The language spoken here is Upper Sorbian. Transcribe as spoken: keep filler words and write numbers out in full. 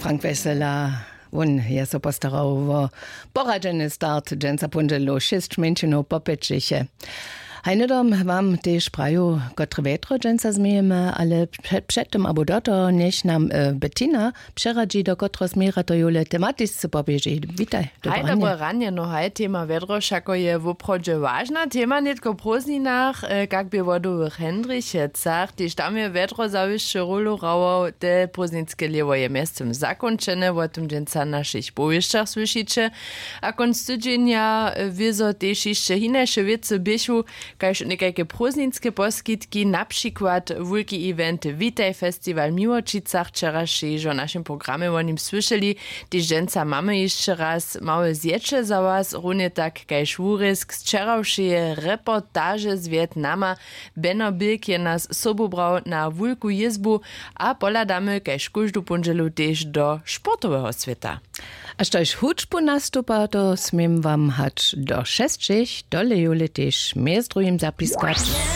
Frank Wessela, wón je so postarał wo poradźeny start dźensa póndźelu šěsć mjeńšinow popjećiše. Haj hnydom wam tež praju, kotre wjetro dźensa změjemy, ale před, před tym abo do toho njech nam e, Bettina přeradźi, do kotreho směra to jule tematisce poběži. Witaj. Haj, dobre ranje. No haj, tema wjedro wšako je woprawdźe wažna tema nětko w prózdninach, e, kak bě w wodowych hendrichecach, tež tam je wjedro zawišće rolu hrało. Te prózdninske lěwo je mjeztym zakónčene, wo tym dźensa w našich powěsćach słyšiće. A kónc tydźenja wězo tež hišće hinaše wěcy běchu, kaž někajke prózdninske poskitki, na přikład wulki event Witaj Festiwal w Miłočicach, wčeraš hižo w našim programje wo nim słyšeli. Tež dźensa mamy hišće raz małe zjeće za was, runje tak kaž wurězk z wčerawšeje reportaže z wjetnama. Beno bilk je nas sobu brał na wulku jězbu, a pohladamy kaž kóždu póndźelu tež do sportoweho swěta. A štož hudźbu nastupa, to směm wam hač do šesćich, tole jule tež mjez druhim zapiskać.